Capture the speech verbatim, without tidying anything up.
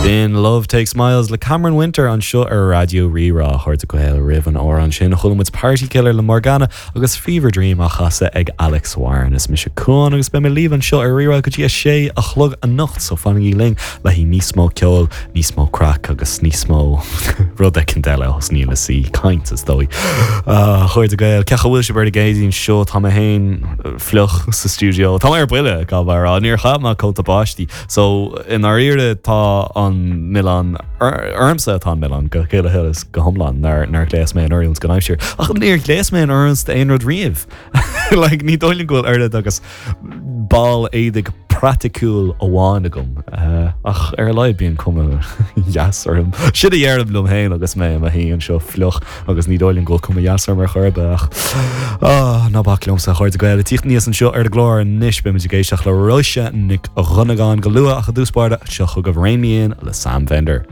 Sin Love Takes Miles le Cameron Winter anseo ar Raidió Rí-Rá. A chairde Gael roimh an amhrán sin chuala muid Party Killer le Morgana agus Fever Dream á chasadh ag Alex Warren is mise Cuan agus beidh mé libh anseo ar Rí-Rá go dtí a sé a chlog anocht so fanaigí linn le haghaidh níos mó ceoil, níos mó craic agus níos mó rud éicint eile os níl sí caint is dóigh. A chairde Gael cén chaoi a bhfuil sibh ar an gCéadaoin seo tá mé féin fliuch sa studio Tá ar buile ga rá níor chaith mé cóta báistí so i ndáiríre tá an milleán ormsa atá an milleán go chéile thulas go hiomlán nár nár ghléas mé in oiriúint don aimsir. Ach níor ghléas mé in oiriúint aon rud riamh. like, ní dóigh liom go bhfuil oiread agus ball éadaigh praiticiúil amháin agam uh, ach ar a laghad bíonn cuma dheas orm. Sin a dheirim liom féin agus mé i mo shuí anseo fliuch agus ní dóigh liom go bhfuil cuma dheas orm ar chor ar bith ach oh, ná bac liomsa a chairde Gael tíocht níos anseo ar an gclár anois beimid ag éisteacht le Róise Nic Dhonnagáin go luath ach i dtús báire seo chugaibh Rein Me In le Sam Fender.